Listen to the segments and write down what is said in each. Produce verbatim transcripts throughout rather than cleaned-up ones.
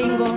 Ingo.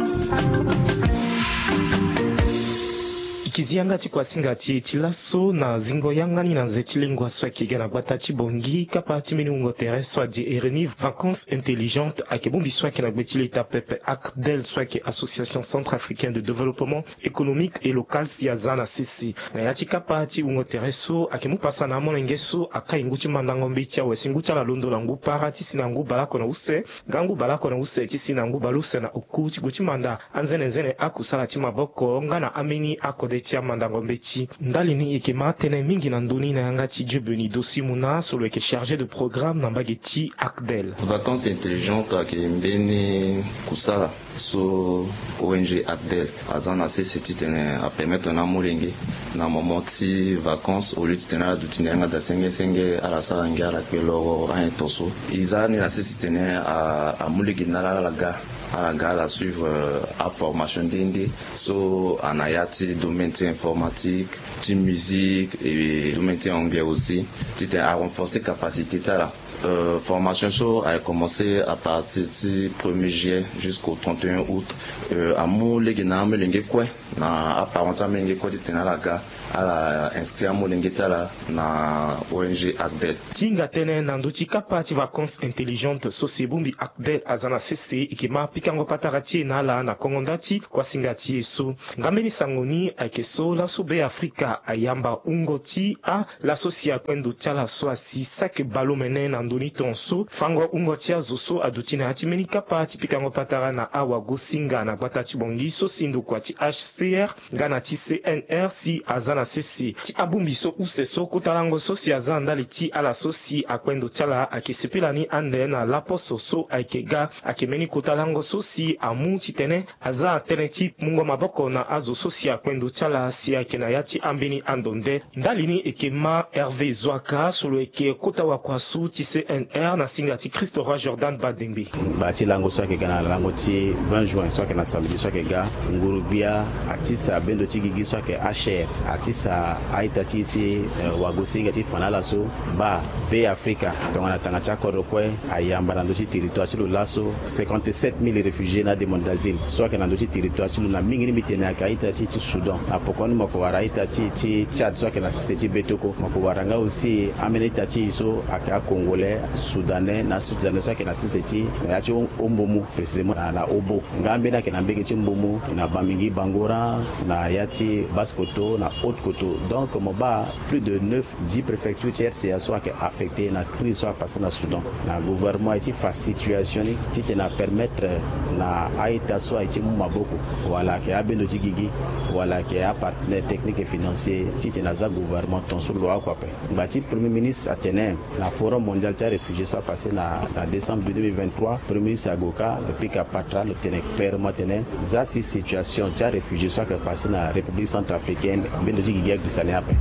Ike zi yanga ti kuasinga ti e ti laso na zingo yanga ni na nze ti lengua so ayeke ga na gbata ti Bangui, kapa ti mbeni wungo tere so adi e reni Vacances Intelligentes ayeke bongbi so ayeke na gbe ti leta pepe, ACDEL, so ayeke Association Centrafricaine de Développement Économique et Local, si aza na sese. Na ya ti kapa ti wungo tere so ayeke mu pasa na amolenge so akai ngu ti mandango mbeti awe si ngu ti ala londo na ngu para ti si na ngu baleoko na use, nga ngu baleoko na use ti si na ngu baleuse na oku ti gue ti manda anzenenzene akusala ti maboko nga na ambeni akode ti amandango mbeti. Ndali ni e yeke ma tënë mingi na ndö ni na yanga ti Dieubeni Dosi Muna so lo yeke chargé de programme na mbage ti ACDEL. Vacances Intelligentes ayeke mbeni kusala so O N G ACDEL aza na sese titene apermettre na amolenge na moment ti vacances, au lieu titene ala duti na yanga daa senge senge, ala sara ngia, ala kpe loro anyen tonso. E za ni na sese titene a, amolenge na ala ala ga, ala ga ala suivre, euh, aformation nde nde so ana ya ti domaine ti informatique, ti musique et domaine ti anglais aussi, titene a renforcer capacité ti ala. Euh, formation so ayeke commencé à partir ti premier juillet jusqu'au trente et un août. Euh, amu lege na amolenge kue na aparent ti amolenge kue titene ala ga ala inscrit amolenge ti ala na O N G ACDEL. Ti hinga tënë na ndö ti kapa ti Vacances Intelligentes so si e bongbi ACDEL aza na sese, e yeke ma pikango patara ti e na ala na kongo nda ti kuasinga ti e so. Nga mbeni sango ni ayeke so laso Be Afrika ayamba wungo ti a laso si akue ndo ti ala so asi saki bale omene na ndö ni tongaso fango wungo ti azo so aduti na ya ti mbeni kapa ti pikango patara na awagosinga na gbata ti Bangui so si ndokua ti H C R nga na ti C N R si aza na sese. Ti abongbi so use so kota lango so si aza na ndali ti ala so si akue ndo ti ala ayeke sepela ni ande na laposo so ayeke ga. Ayeke mbeni kota lango so si amu titene aza na tënë ti mungo maboko na azo so si akue ndo ti ala si ayeke na ya ti ambeni ando nde. Ndali ni e yeke ma Hervé Zoaka so lo yeke kota wakuasu ti C N R na singa ti Christ Roi Jordan Badengbe. Ngba ti lango so ayeke ga na lango ti vingt juin so ayeke na samedi so ayeke ga, nguru-gbia atisa bendo ti gigi so ayeke H R, atisa a-ita ti e si, eh, wagosinga ti fa na ala so baa Be Afrika tongana tanga ti akodro kue ayamba na ndö ti territoire ti lo laso cinquante-sept mille réfugiés na ademande d'asile so ayeke na ndö ti territoire ti lo. Na mingi ni mbi tene ayeke a-ita ti e ti Soudan. Na poko ni mo yeke wara a-ita ti e ti Tchad so ayeke na sese ti betoko. Mo yeke wara nga aussi ambeni a-ita ti e so ayeke a-Congolais, Soudanais na Sud-Soudanais so ayeke na sese ti na ya ti Ho-, Hombomou, précisément na, na Hobo. Nga ambeni ayeke na mbege ti Mbomou, na Bamingui Bangoran, na ya ti Basse-Kotto, na Haute-Kotto. Donc mo baa plus de neuf, dix préfectures ti R C A so ayeke affecté na crise so apasé na Soudan. Na gouvernement aye ti fa situation ni titene apermettre na a-ita so aye ti mu maboko, wala ayeke abendo ti gigi, wala ayeke apartenaire technique et financier, titene aza gouvernement tongaso lo oko ape. Ngba ti Premier ministre atene na Forum mondial ti aréfugié so apasé na, na décembre deux mille vingt-trois, Premier ministre ague ka, lo pika patara, lo tene clairement atene za si situation ti aréfugié so ayeke passé na République centrafricaine, mbendo ti gigi agbisa ni ape.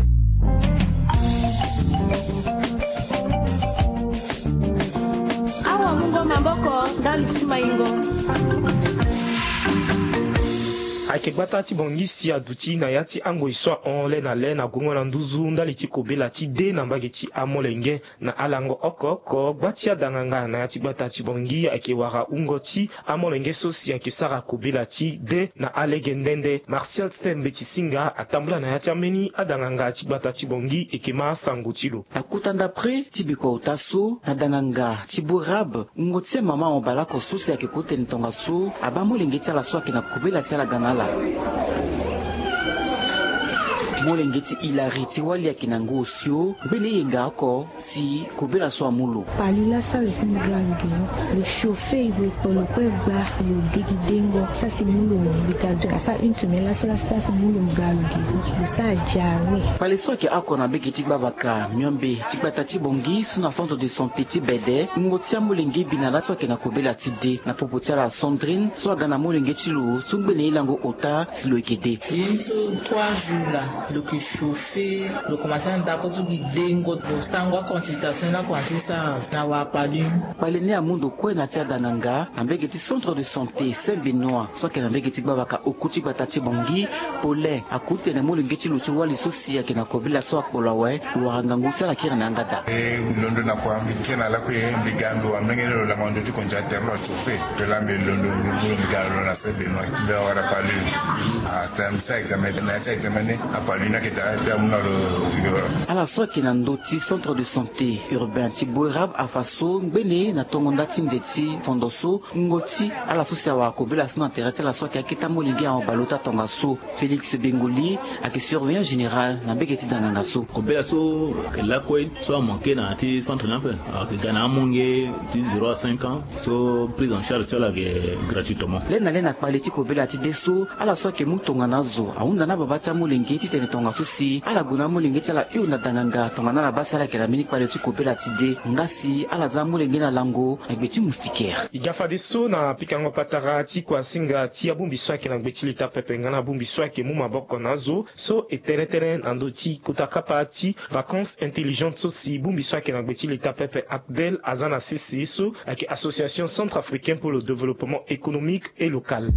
Awa mungo maboko ndali ti maingo. Ayeke gbata ti Bangui si aduti na ya ti angoi so ahon le na le na gongo na nduzu ndali ti kobela ti dé na mbage ti amolenge. Na alango oko oko, gba ti adanganga na ya ti gbata ti Bangui ayeke wara wungo ti amolenge so si ayeke sara kobela ti dé na alege nde nde. Martial Stem Mbeti Singa atambula na ya ti ambeni adanganga ti gbata ti Bangui, e yeke ma asango ti lo. Na kota ndapre ti bikua ota so, na danganga ti Bourab, wungo ti amama mo baleoko so si ayeke kotene tongaso abaa molenge ti ala so ayeke na kobela si ala ga na ala. Molenge ti Hilary ti wali ayeke na ngu osio, ngbene e yenga oko si kobela so amu lo. Palu laso lo si mbi ga lo gi lo, lo chauffer, lo kpo lo kue gba, lo degi dengo, sara si mu lo mbi ga lo gi lo. Asara une semaine laso, laso sara si mu lo mbi ga lo gi lo. Lo sara diarrhée. Kpale so ayeke oko na mbage ti gbavaka miombe ti gbata ti Bangui so na centre de santé ti Bede, wungo ti amolenge bi na laso ayeke na kobela ti dé. Na popo ti ala Sandrine so aga na molenge ti lo so ngbene e lango ota si lo yeke dé. Ye ni so trois jours laa, lo yeke chauffer, lo komanse na ndako so gi dengo, lo sango aconsultation ni akomanse sara na wara palu. Kpale ni amu ndo kue na ya ti adanganga na mbage ti centre de santé Saint Benoît so ayeke na mbage ti gbavaka oku ti gbata ti Bangui. Paulin akutene molenge ti lo ti wali so si ayeke na kobela so akpolo awe, lo wara ngangu si ala kiri na yanga daa. E londo na kua mbi kiri na lakue, mbi ga mbi wa mlenge ni lo lango ndo ti konzi atere lo achauffer. Mpe laa mbi londo mbi mu lo mbi ga na lo na Benoît mbe awara palu. Astem sa examen na ya ti examen ni. Apalu ni aketa te amu na lo. Yoro. Ala so ayeke na ndö ti centre de santé urbain ti Boerab afa so ngbene na tongo nda ti nze ti fondo so ngo ti ala so si awara kobela so na tere ti ala so ayeke akete amolenge ahon baleota tongaso. Félix Bengoli ayeke surveillant général na mbege ti danganga so. Kobela so ayeke lakue so amanke na ya ti centre ni ape. Ayeke ga na amonge ti zéro à cinq ans. So prise en charge ti ala ayeke gratuitement. Lê na lê na kpale ti kobela ti de so ala so ayeke mu tongana azo ahunda na ababa ti amolenge titene tongaso si ala gue na amolenge ti ala hio na danganga tongana ala baa si ala yeke na mbeni kpale ti kobela ti de nga si ala za amolenge na lango na gbe ti moustiquaire. E ga fadeso na pikango patara ti kuasinga ti abongbi so ayeke na gbe ti leta pepe nga na abongbi so ayeke mu maboko na azo so e tene tënë na ndö ti kota kapa ti vacances intelligentes so si bongbi so ayeke na gbe ti leta pepe ACDEL aza na sese so ayeke Association Centrafricaine pour le Développement Économique et Local.